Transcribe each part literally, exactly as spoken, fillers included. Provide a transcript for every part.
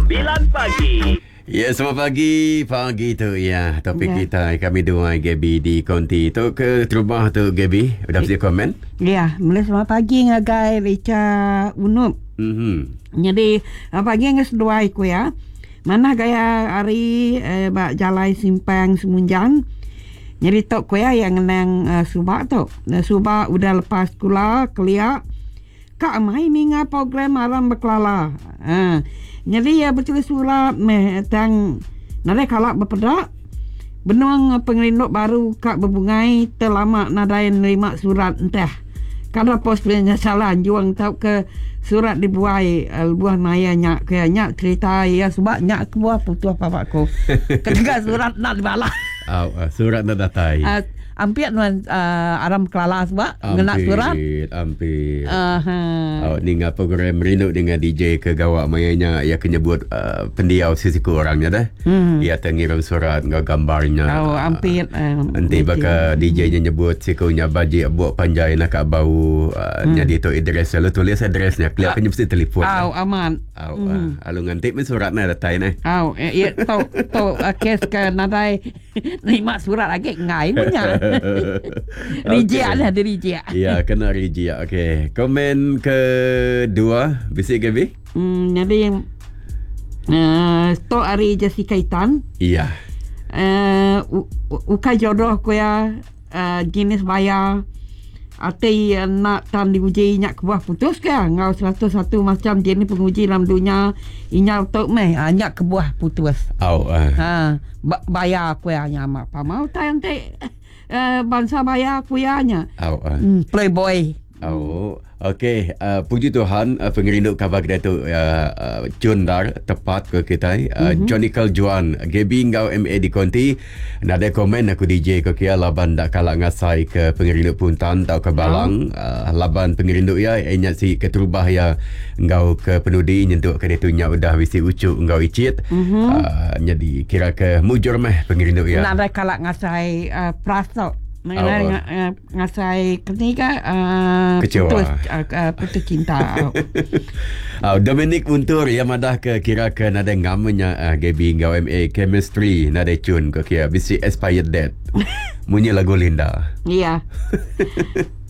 sembilan pagi. Ya, selamat pagi. Pagi tu ya. Topik Ya. kita kami dua Gaby di konti. Tu ke terubah tu Gaby. Udah mesti komen? Ya, mula selamat pagi ngagai Richa Unup. Mhm. Jadi ah, pagi ngas dua iku ya. Mana gaya hari eh, bak jalai simpang Semunjang. Jadi tok ku ya yang ngenang uh, subak tu. Uh, subak udah lepas sekolah keliak. Kak mai ninga program alam berkelala. Ha. Jadi ya betul surat meh tang nadai kalak berpedak. Benuang pengerindu baru kak berbungai terlama nadai nerima surat entah. Kalau pos punya salah juang tau ke surat dibuai uh, buah maya nyak ke nyak cerita ya sebab nyak ke buah putus bapakku. Ketika surat nak dibalas. Au, uh, surat nak datai. Uh, ampir nuan uh, aram kelala sebab ngena surat. Ampir. Uh, ha. Oh, ninga program rindu dengan D J ke gawak mayanya ia kena buat uh, pendiau sisiku orangnya dah. Hmm. Ia tengirim surat ngau gambarnya. Oh, ampir. Uh, Nanti baka D J-nya nyebut sikunya bajik buat panjai nak kat bau uh, hmm. Jadi tu address lalu tulis addressnya. Kelihatannya mesti telefon. Oh, aman. Au, hmm. uh, alu ngantik men surat nak datai nah. Au, eh, ya tau tau uh, kes ke nadai nerima surat lagi ngai punya. Rijik lah dia rijik. Ya, kena rijik. Okey. Komen kedua, bisik Gaby? Hmm, jadi uh, stok hari Jessica Itan. Iya. Uh, ukai jodoh ku ya uh, jenis bayar. Ati uh, nak tan diuji nyak kebuah putus ke ngau seratus satu macam jenis penguji dalam dunia inyau tok meh uh, nyak kebuah putus. Au. Uh. Ha, bayar ku ya nyamak pa mau tan te uh, bangsa bayar ku ya nya. Au. Uh. Hmm, playboy. Au. Okey, uh, puji Tuhan uh, pengerindu khabar kita tu uh, uh, cundar tepat ke kita. Uh, mm-hmm. Johnny Juan, Gaby ngau M A di konti. Nada komen aku D J ke kia laban dak kalak ngasai ke pengerindu puntan tau ke balang. Oh. Uh, laban pengerindu ya inya si keterubah ya ngau ke penudi nyentuk ke dia tu nya udah bisi ucuk ngau icit. Mm-hmm. Uh, jadi kira ke mujur meh pengerindu ya. Nada kalak ngasai uh, prasok. Mengenai oh. ngasai ketiga uh, kecewa. Putus, uh, uh, putus cinta. Oh, Dominic Untur yang madah ke kira ke nada ngamenya uh, Gaby ngau M A chemistry nada cun ke kira bisi expired date. Munyi lagu Linda. Ya.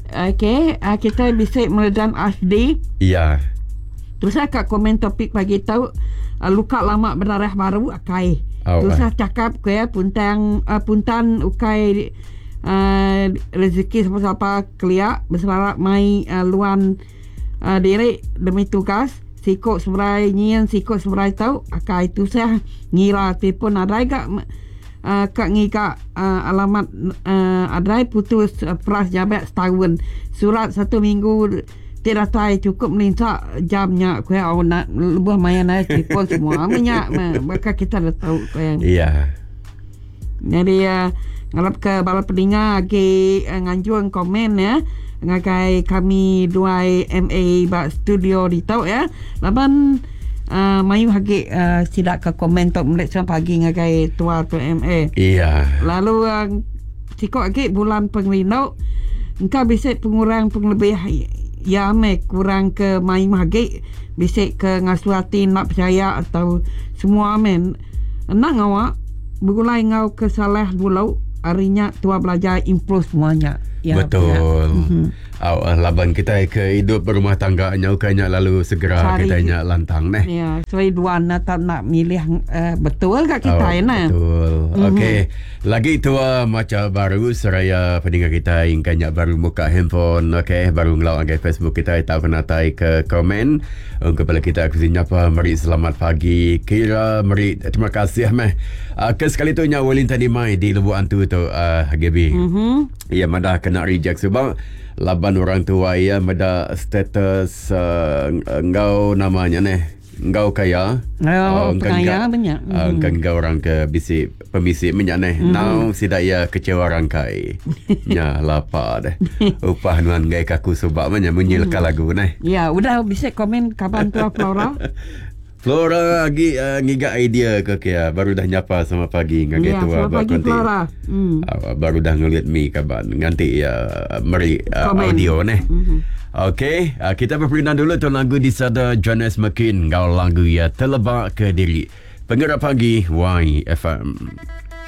Okey, uh, kita bisa meredam Asdi. Ya. Terus saya kat komen topik pagi tahu uh, luka lama berdarah baru akai. Oh, Terus saya uh. cakap ke puntang uh, puntan ukai Uh, rezeki siapa-siapa keliak berselarap mai uh, luan uh, diri demi tugas sikok seberai nyian sikok seberai tau akai tu sah ngira telefon adai gak uh, kak ngigak uh, alamat uh, adai putus uh, peras jabat setahun surat satu minggu tidak tai cukup melintak jamnya kuya oh, nak lebuh main naik telefon semua minyak maka kita dah tahu kuya. Iya. Jadi uh, ngalap ke bala peninga agi uh, nganjuang komen ya ngagai kami dua M A ba studio di tau ya. Laban uh, mayu hagi uh, sidak ke komen tok melek pagi ngagai tua tu M A. Iya. Lalu uh, sikok agi bulan pengerindu engkau bisa pengurang penglebih ya me kurang ke mayu hagi bisa ke ngasuati nak percaya atau semua men nak ngawak bergulai ngau ke salah dulu harinya tua belajar improve semuanya. Ya, betul. Ya. Mm-hmm. Aw, laban kita ke hidup berumah tangga nyau kanya lalu segera Sari, kita nya lantang neh. Ya, so dua nak tak nak milih uh, betul kat kita oh, nah. Betul. Mm-hmm. Okey, lagi tua macam baru seraya pendengar kita yang kanya baru buka handphone, okey, baru ngelawak ke Facebook kita tahu kena tai ke komen. Kepada kita aku nyapa meri selamat pagi. Kira meri terima kasih meh. Uh, ke sekali tu nya Wellington Mai di Lubuk Antu tu uh, Gaby. Mhm. Ya madah kena reject sebab laban orang tua ya meda status uh, engkau namanya neh engkau kaya. Oh, uh, kaya banyak. Uh, mm. Engkau orang ke bisi pemisi minyak neh. Mm. Now sidak ya kecewa rangkai. Nya lapar deh. Upah nuan gai kaku sebab banyak menyilkan mm. lagu neh. Ya, udah bisa komen kapan tua Flora? Flora lagi uh, ngiga idea ke kia baru dah nyapa sama pagi ngagai Ya, tua selamat ba pagi konti. Flora. Hmm. Uh, baru dah ngelit mi kaban nganti uh, meri uh, Komen. audio neh. Mhm. Okey, uh, kita berperindang dulu tu lagu disada Jonas McKin ngau lagu ya Telebak ke Diri. Pengerak pagi Y F M.